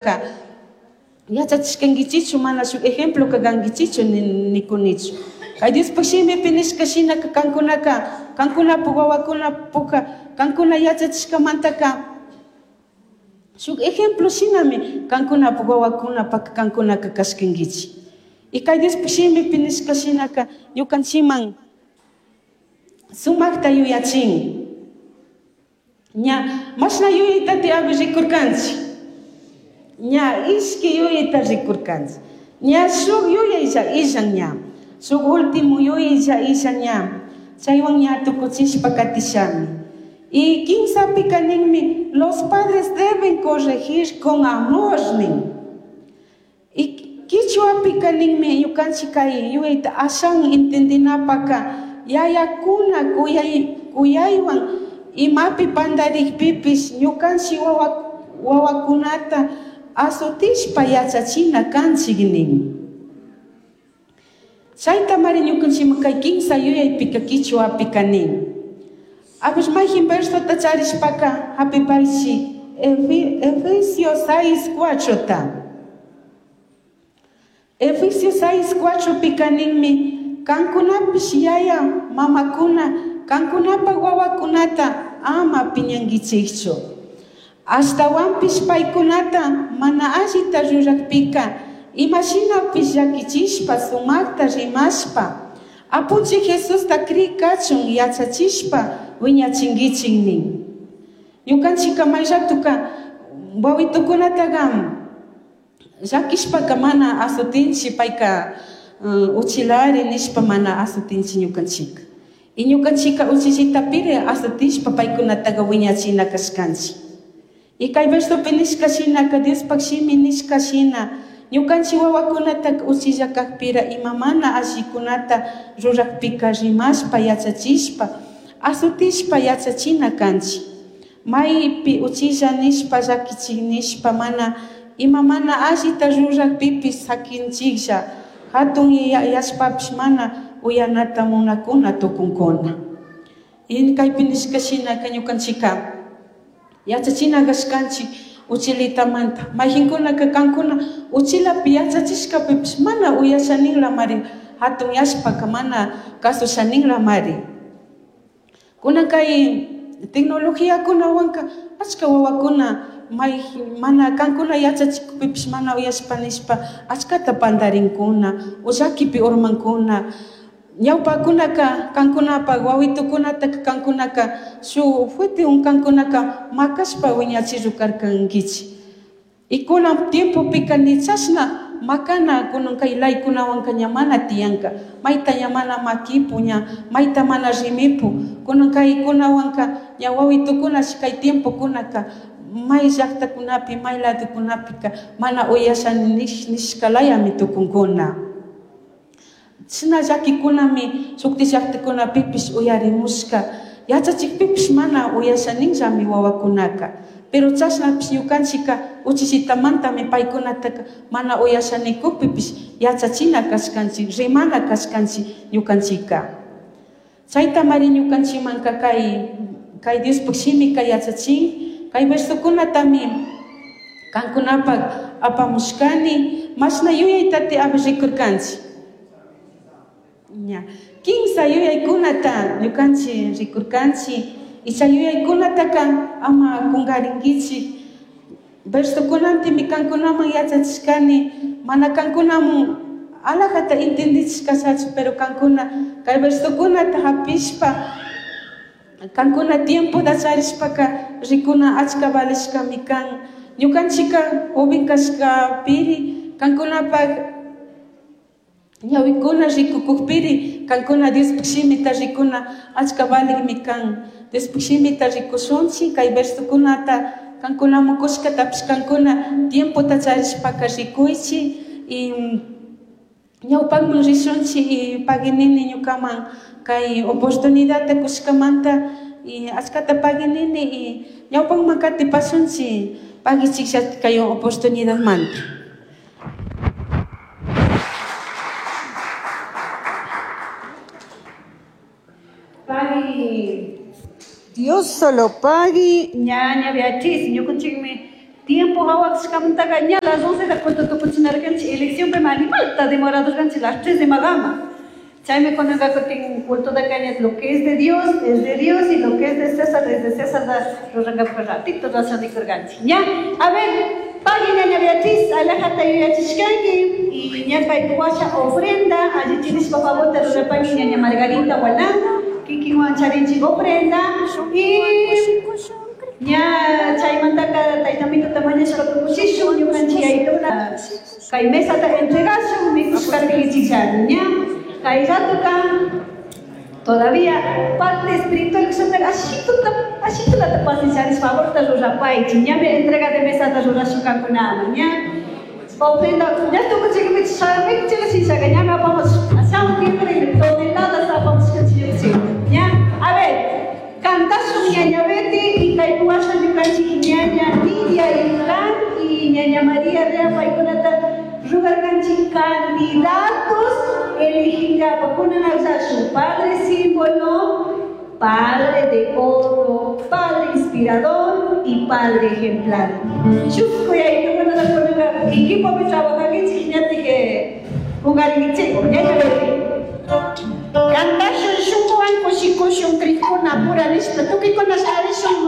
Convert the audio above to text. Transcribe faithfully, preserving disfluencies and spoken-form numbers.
Yachachishkankichichu mana shuk ejemplo kankichichu nikunichu. Kay Diospaj shimipi nishka shinaka kankunaka kankunapuk wawakunapuka kankuna yachachishkamantaka shuk ejemplo shinami kankunapuk wawakunapaka kankunaka kashkankichik. Y kay Diospaj shimipi nishka shinaka ñukanchikman sumakta yuyachin. Ña mashna yuyaytati abi rikurkanchik. Ña ishki yuyayta rikurkanchik. Ña shuk yuyaylla illan ña. Shuk último yuyaylla illan ña. Chaywan ña tukuchishpa katishami. Y kimsapika ninmi, los padres deben corregir con amor nin. Y kichwapika ninmi ñukanchik kay yuyayta ashan entendinapaka yayakuna kuyay kuyaywan imapi pandarikpipish ñukanchik wawa wawakunata azotishpa yachachina kanchik nin. Chayta mari ñukanchikman kay kimsa yuyaypika kichwapika nin. A ver mayjin versota charishpaka hapipaychik Efesios seis cuatrota. Efesios seis cuatro pika ninmi kankunapish yaya mamakuna kankunapa wawakunata ama piñankichikchu. Ashtawanpish paykunata mana allita rurakpika imashinapish llakichishpa sumakta rimashpa Apunchik Jesusta kri kachun yachachishpa wiñachinkichik nin. Ñukanchika may ratuka wawitukunataqa llakishpaka mana azotinchik payka uchilari nishpa mana azotinchik ñukanchika. Y ñukanchika uchillitapiri azotishpa paykunataqa wiñachina kashkanchik. Y kay versopi nishka shinaka Diospaj shimi nishka shina ñukanchik wawakunataka uchilla kakpira ima mana allikunata rurakpika rimashpa yachachishpa azotishpa yachachina kanchik. Maypi uchilla nishpa llakichik nishpa mana ima mana allita rurakpipish sakinchiklla hatun yashpapish mana uyanata munakuna tukunkuna. Y kaypi nishka shinaka ñukanchika yachachina kashkanchik uchilitamanta mayjinkunaka kankuna uchilapi yachachishkapipish mana uyashaninlamari hatun yashpaka mana kasushaninlamari. Kunan kay tecnologiakunawanka achka wawakuna may mana kankuna yachachikpipish mana uyashpa nishpa achkata pantarinkuna o llakipi urmankuna. Ñawpakunaka kankunapak wawitukunataka kankunaka shuk fuerte kankunaka makashpa wiñachirukarkankichik. Y kunan tiempopika ni chashna makana kunan kay laykunawanka ña mana tiyanka mayta ña mana makipu ña mayta mana rimipu kunan kaykunawanka ña wawitukunash kay tiempokunaka may llaktakunapi may ladokunapika mana uyasha nishkalayami tukunkuna. China llakikunami shukti llaktakunapipish uyarimushka yachachikpipish mana uyashaninllami wawakunaka. Pero chashnapish ñukanchika uchillitamantami paykunataka mana uyashanikukpipish yachachina kashkanchik rimana kashkanchik ñukanchika. Chaytamari ñukanchikmanka kay kay Diospaj shimika yachachin kay versokunatami kankunapak apamushkani mashna yuyaytati abi rikurkanchik. Ña kimsa yuyaykunata ñukanchik rikurkanchik. Y chay yuyaykunataka ama kunkarinkichik. Versokunantimi kankunaman yachachishkani mana kankunaman alajata entendichishkashachu pero kankuna kay versokunata hapishpa kankuna tiempota charishpaka rikuna achka valishkami kan. Ñukanchika joven kashkapiri kankunapak ñawikuna rikukukpiri kankuna Diospaj shimita rikuna achka valikmi kan. Diospaj shimita rikushunchik kay versokunata kankunaman kushkatapish kankuna tiempota charishpaka rikuychik y ñawpakman rishunchik y paginini ñukaman kay oportunidadta kushkamanta y achkata paginini y ñawpakman katipashunchik pagichiklla kay oportunidadmanta. Pagui Dios solo pagui. Ñaña Beatriz, ñukunchikmi Tiempo hawakashkamantaqa ña las once da culto tukuchinarkanchik elección pe animalta demoradorkanchik las tres de magama. Chaymi kunanqa kutin culto da cañas lo que es de Dios es de Dios y lo que es de César es de César da ruranqapaq ratito rasanikurkanchik. Ña, a ver, pagui ñaña Beatriz, alajata yuyachishkanki y ña kay washa ofrenda, allichinishpa favorta rurapangui ñaña Margarita Walán, kikinwan charinchik ofrenda y ña chaymantaka taytamituta mañashpa tukuchishun ñukanchik yaytuna kay mesata entregashun mikushkarkichik ña kay ratuka todavía parte espiritual kashantaka ashituta ashitulata pacienciaris favorta rurapaychik ñami entrega de mesata rurashunkakunaman ña ofrenda ña tukuchikmi mikuchika ñami apamos ashawan tiempo toneladas apamos ña a ver cantashun ñaña Betty y kay washa ñukanchik ñaña Nidia Irán y ñaña María Rea paykunata rugarkanchik candidatos elegingapa kunan su padre símbolo, padre de oro, padre inspirador y padre ejemplar. Chusco y ahí kunanaka equipo trabajankichik ñatike jugarinkichik ñaña Betty. Cantashun shunkuwan kushikushun krikuna pura nishpa tukuykuna sharishun.